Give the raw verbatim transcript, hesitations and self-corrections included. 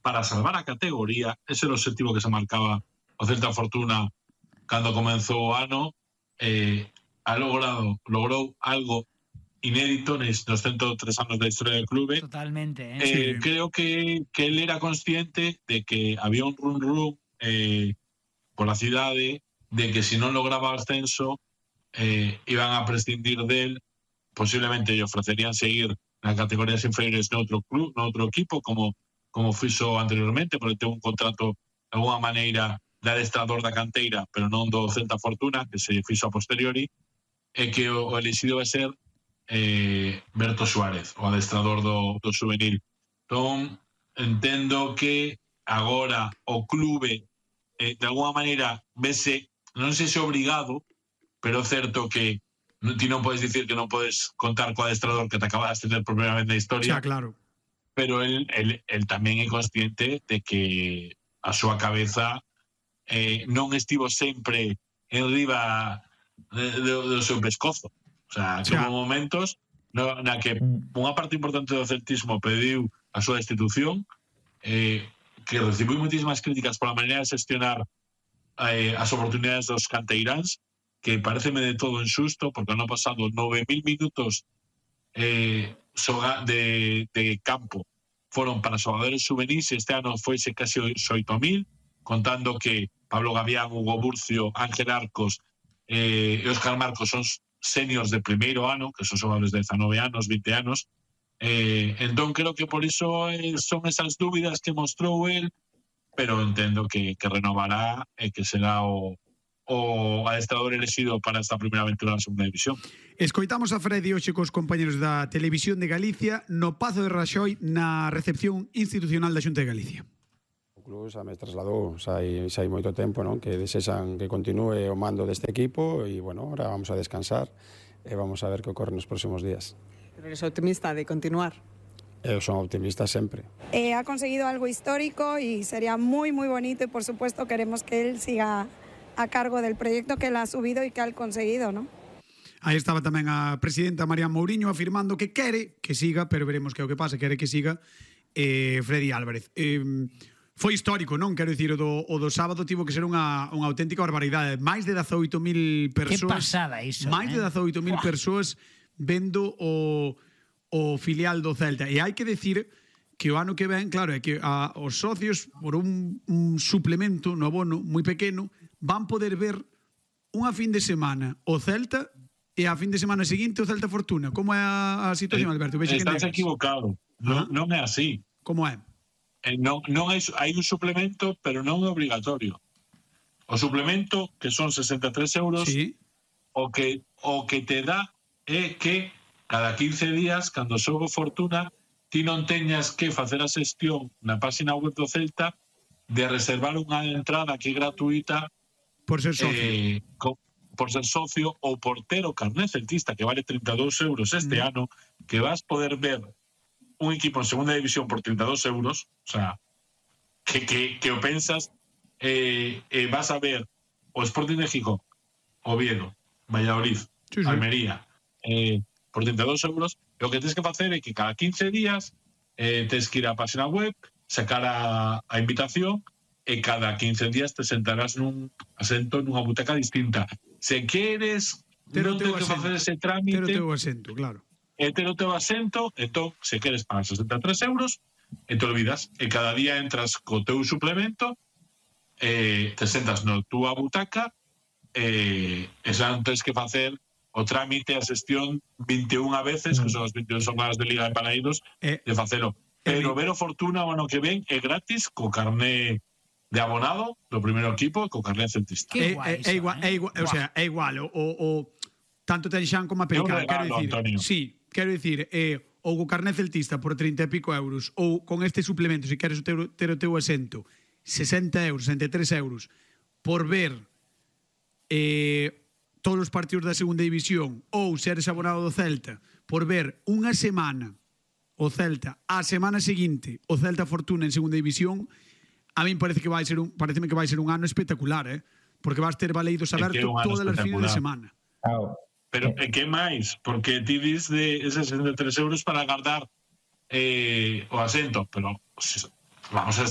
para salvar a categoría. Ese é o objetivo que se marcaba o Celta Fortuna cando comenzou o ano. Eh, ha logrado, logrou algo inédito nos ciento tres anos da historia del clube. Totalmente, ¿eh? Eh, Sí. Creo que, que él era consciente de que había un run run eh, por la cidade, de que si non lograba o ascenso eh, iban a prescindir del, posiblemente lle ofrecerían seguir nas categorías inferiores no outro club, no outro equipo, como como fixo anteriormente, porque ten un contrato de alguna maneira de adestrador da canteira, pero non do Celta Fortuna, que se fixo a posteriori, e que o, o elixido vai ser eh, Berto Suárez, o adestrador do, do juvenil. Entón, entendo que agora o clube eh, de alguna maneira vese, non sei se obrigado, pero é certo que non, ti non podes dicir que non podes contar co adestrador que te acabas de tener por primeira vez na historia. Xa, claro. Pero él, él, él tamén é consciente de que a súa cabeza eh, non estivo sempre en riba de, de, do seu pescozo. O sea, que hubo momentos no, na que unha parte importante do celtismo pediu a súa destitución, eh, que recibiu muitísimas críticas pola maneira de gestionar eh, as oportunidades dos canteiráns, que pareceme de todo injusto, porque ano pasado nove mil minutos eh, de, de campo foron para xogadores juvenis, e este ano foise casi oito mil, contando que Pablo Gavián, Hugo Burcio, Ángel Arcos eh, e Óscar Marcos son seniors de primeiro ano, que son xogadores de dezanove anos, vinte anos. Eh, entón creo que por iso eh, son esas dúbidas que mostrou el, pero entendo que, que renovará e que será o o adestrador elegido para esta primeira aventura na segunda división. Escoitamos a Freddy hoxe cos compañeros da Televisión de Galicia no Pazo de Raxoi na recepción institucional da Xunta de Galicia. O club xa me trasladou, xa hai, xa hai moito tempo, non? Que desexan que continúe o mando deste equipo e, bueno, ahora vamos a descansar e vamos a ver que ocorre nos próximos días. Pero eres optimista de continuar? Eu son optimista sempre. Eh, ha conseguido algo histórico y sería muy, muy bonito y, por supuesto, queremos que él siga a cargo del proyecto que él ha subido y que ha conseguido, ¿no? Aí estaba tamén a presidenta María Mourinho afirmando que quere que siga, pero veremos que é o que pasa, quere que siga eh, Freddy Álvarez. Eh, foi histórico, non? Quero dicir, o do, o do sábado tivo que ser unha, unha auténtica barbaridade. Máis de dezaoito mil persoas. Que pasada iso, máis eh? de dezaoito mil persoas vendo o, o filial do Celta. E hai que decir que o ano que ven, claro, é que a, os socios, por un, un suplemento no abono moi pequeno, van poder ver unha fin de semana o Celta e a fin de semana seguinte o Celta Fortuna. Como é a, a situación, Alberto? Vexe Estás equivocado. Non, non é así. Como é? Eh, non, non hai, hai un suplemento, pero non é obligatorio. O suplemento, que son sesenta e tres euros, sí. o, que, o que te dá é que cada quince días, cando xogo Fortuna, ti non teñas que facer a xestión na página web do Celta de reservar unha entrada que é gratuita por ser socio, eh, co, por ser socio ou por ter o carné celtista, que vale trinta e dous euros este mm. ano, que vas poder ver un equipo en segunda división por trinta e dous euros, o sea, que, que, que o pensas, eh, eh, vas a ver o Sporting de Gijón, Oviedo, Valladolid, sí, sí. Almería, eh, por trinta e dous euros. E o que tens que facer é que cada quince días eh, tens que ir á página web, sacar a, a invitación, e cada quince días te sentarás nun asento nunha butaca distinta. Se queres non tens que facer ese trámite, ter o teu asento, claro. E ter o teu asento, entón, se queres pagar sesenta e tres euros, e te olvidas, e cada día entras co teu suplemento, e te sentas na túa butaca, e, e xa non tens que facer o trámite, a xestión vinte e unha veces, que son as vinte e unha jornadas de Liga de Paraídos, eh, de facelo. Pero ver o Fortuna o ano que ven é gratis, co carné de abonado do primeiro equipo e co carné celtista. É, é, é igual, é igual, o sea, é igual, o, o tanto ten Xan como a Pelican, quero dicir, Antonio. Sí, quero dicir, eh, ou co carné celtista por trinta e pico euros, ou con este suplemento, se queres ter, ter o teu asento, sesenta euros, sesenta e tres euros, por ver eh, todos os partidos da segunda división, ou seres abonado do Celta, por ver unha semana o Celta, a semana seguinte o Celta Fortuna en segunda división, a min parece que vai ser un, pareceme que vai ser un ano espectacular, eh? Porque vas ter baleidos abertos todas as fines de semana. Claro. Pero e que máis? Porque ti dis de eses sesenta e tres euros para agardar eh, o asento, pero vamos a